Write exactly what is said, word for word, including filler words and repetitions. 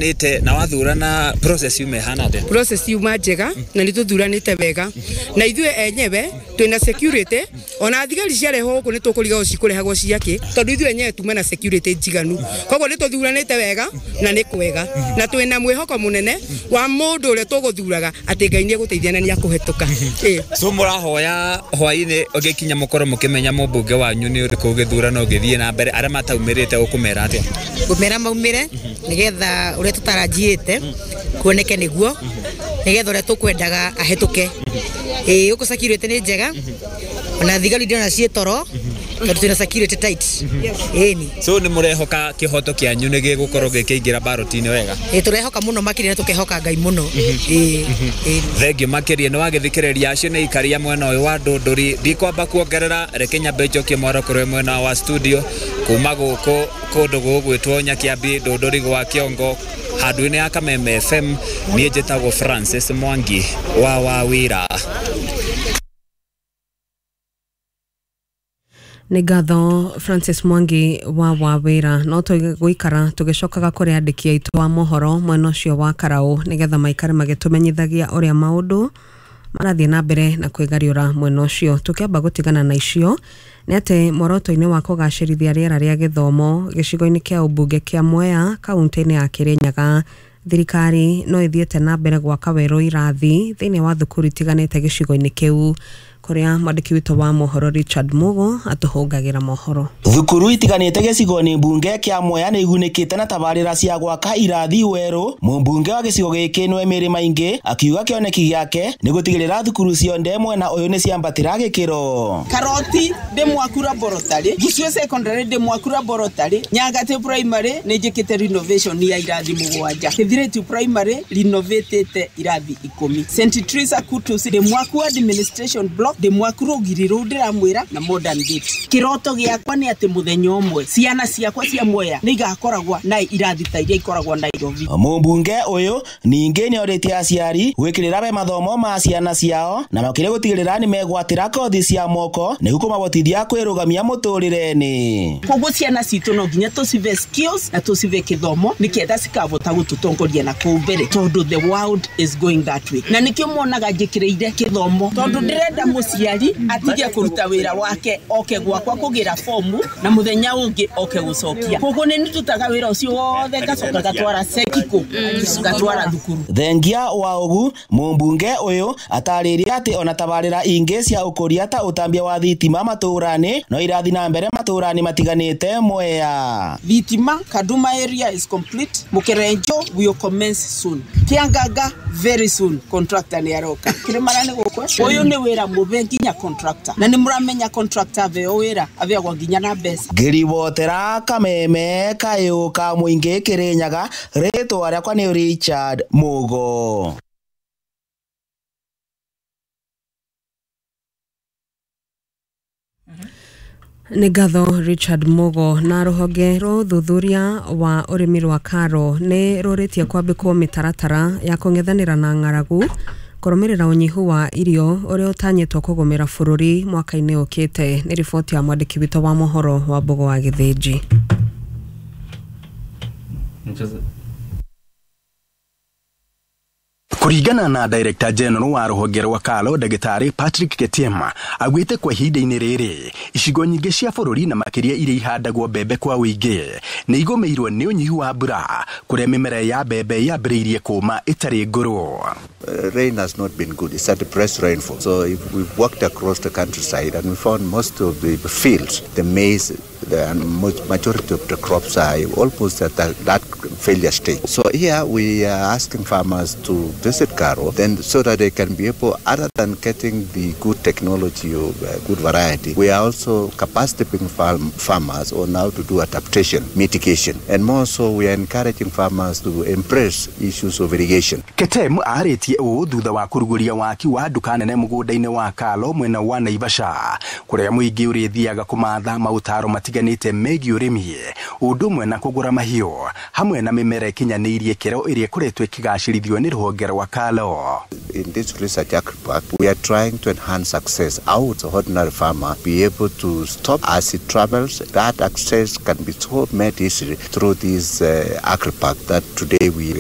Nite na wathurana process yume hana atia? Process yuma njega na nĩ tũthuranĩte wega na ithuĩ enyewe twĩna security, ona thigari ciarehwo gũkũ nĩ tũkũrigagwo cikũrehagwo ciakĩ tondũ ithuĩ enyewe tuma na security njiganu, koguo nĩ tũthuranĩte wega na nĩ kwega na twĩna mwĩhoko mũnene wa mũndũ ũrĩa tũgũthuraga atĩ Ngai nĩ egũteithia na nĩ akũhetũka. So mũrahoya hwainĩ ũgĩkinya mũkorwo mũkĩmenya mũmbunge wanyu nĩ ũrĩkũ gĩthurano gĩthiĩ na mbere, arĩa mataumĩrĩte ũkũmera atĩa? Ngũmera maumĩre nĩgetha ũrĩa tũtarajiĩte kuoneke nĩguo nĩgetha ũrĩa tũkwendaga ahĩtũke. Ĩĩ gũkũ security nĩ njega ona thigari ndĩrona ciĩ toro tondũ twĩna security tight. Ĩni. So nĩ mũrehoka kĩhoto kĩanyu nĩ gĩgũkorwo gĩkĩingĩra ballot-inĩ wega? Ĩĩ tũrehoka mũno makĩria na tũkehoka Ngai mũno. Ĩĩ. Thengiũ makĩria nĩ wagĩthikĩrĩria acio nĩ aikaria mwena ũyũ wa Ndũndũri. Ndikwamba kuongerera, reke nyambe njokie mwaro kũrĩ mwena wa studio kuma gũkũ kũndũ gũgwĩtwo Nyakiambi Ndũndũri gwa Kĩongo handũ-inĩ ya Kameme F M. Niĩ njĩtagwo Francis Mwangi wa Wawira. Nĩ ngatho Francis Mwangi wa Wawira. No tũgũikara tũgĩcokaga kũrĩ andĩki aitũ a mohoro mwena ũcio wa Karaũ nĩgetha maikare magĩtũmenyithagia ũrĩa maũndũ marathiĩ na mbere na kwĩgariũra mwena ũcio. Tũkĩamba gũtigana na icio nĩ atĩ mworoto-inĩ wa kũgacĩrithia rĩera rĩa gĩthomo gĩcigo-inĩ kĩa ũmbunge kĩa Mwea kaunti-inĩ ya Kĩrĩnyaga, thirikari no ĩthiĩte na mbere gwaka werũ irathi thĩinĩ wa thukuru itiganĩte gĩcigo-inĩ kĩu, kũrĩa mwandĩki witũ wa mohoro Richard Mugo atũhũngagĩra mohoro. Thukuru itiganĩte gĩcigo-inĩ mbunge kĩa Mwea nĩ igunĩkĩte na tabarĩra cia gwaka irathi werũ. Mũmbunge wa gĩcigo gĩkĩ nĩwe Mary Maingi akiuga kĩoneki gĩake nĩ gũtigĩrĩra thukuru cionde mwena ũyũ nĩ ciambatĩra gĩkĩro. Karoti ndĩ mwaku laboratory, Gĩcigo secondary ndĩ mwaku laboratory, Nyangati primary nĩ njĩkĩte renovation ya irathi mũgwanja, Kĩthirĩtu primary renovatĩte irathi ikũmi, Saint Teresa Kutus ndĩ mwaku administration block ndĩ mwaku rũgiri rũu ndĩramwĩra na modern gate. Kĩroto gĩakwa nĩ atĩ mũthenya ũmwe ciana ciakwa cia Mwea nĩ igakoragwo na irathi ta iria ikoragwo Nairobi. Mũmbunge ũyũ ningĩ nĩ orĩtie aciari gwĩkĩrĩra we mathomo ma ciana ciao na makĩria gũtigĩrĩra nĩ megwatĩra kothi cia moko nĩguo kũmahotithia kwĩrũgamia mũtũrĩre-inĩ. Koguo ciana citũ no nginya tũcive skills na tũcive kĩthomo nĩketha cikahota gũtũtongoria na kũu mbere tondũ the world is going that way. Na nĩkĩo muonaga njĩkĩrĩire kĩthomo tondũ ndĩrenda mũciari atige kũruta wĩra wake oke gwakwa kũgĩra fomu na mũthenya ũngĩ oke gũcokia. Koguo nĩ ndutaga wĩra ũcio wothe ngacoka ngatwara sekiko ngatwara thukuru. Thengia wa ũgu mũmbunge ũyũ atarĩria atĩ ona tabarĩra ingĩ cia ũkũria ta ũtambia wa thitima matũũra-inĩ no irathi na mbere matũũra-inĩ matiganĩte Mwea. Thitima Kaduma area is complete, Mũkerenjo will commence soon, Kiangaga very soon, contractor nĩ aroka. Kĩrĩmara nĩ gũkũ ũyũ nĩ wĩra mũbe nginya contractor na nĩ mũramenya contractor aveo wĩra aveagwo nginya na mbeca. Ngĩribotera Kameme kayũ ka mũingĩ Kĩrĩnyaga, rĩtwa rĩakwa nĩ Richard Mugo. Nĩ ngatho Richard Mugo. Na rũhonge rwa ũthuthuria wa ũrĩmi rwa Karo nĩ rũrĩtie kwambĩkwo mĩtaratara ya kũng'ethanĩra na ng'aragu kũrũmĩrĩra ũnyihu wa irio ũrĩa ũtanyĩtwo kũgũmĩra bũrũri mwaka-inĩ ũkĩte. Nĩ riboti ya mwandĩki witũ wa mohoro wa Mbogo wa Gĩthĩnji. Kuringana na Director General wa rũhonge rwa Karo Ndagĩtarĩ Patrick Ketema agwĩte kwa ihinda-inĩ rĩrĩ icigo nyingĩ cia bũrũri na makĩria iria ihandagwo mbembe kwa ũingĩ nĩ igũmĩirwo nĩ ũnyihu wa mbura kũrĩa mĩmera ya mbembe yambĩrĩirie kũma ĩtarĩ ngũrũ. Rain has not been good. It's a depressed rainfall. So if we've walked across the countryside and we found most of the fields, the maize, the majority of the crops are almost at that, that failure stage. So here we are asking farmers to visit Karo then so that they can be able, other than getting the good technology or good variety, we are also capacitating farm, farmers on how to do adaptation, mitigation, and more so we are encouraging farmers to embrace issues of irrigation. Ketem arĩtie ũũ thutha wa kũrugũria waki wa nduka nene mũgũnda-inĩ wa Kalo mwena wa Naivasha kũrĩa mũingĩ ũrĩthiaga kũmatha maũtaro matiganĩte megiĩ ũrĩmi ũndũ ũmwe na kũgũra mahiũ hamwe na mĩmera ĩkinyanĩirie kĩro ĩrĩa ĩkoretwo ĩkĩgacĩrithio nĩ rũhonge rwa rwa KALRO. In this research agri-park, we are trying to enhance access out the ordinary farmer be able to stop as he travels. That access can be so made easily through this uh, agri-park that today we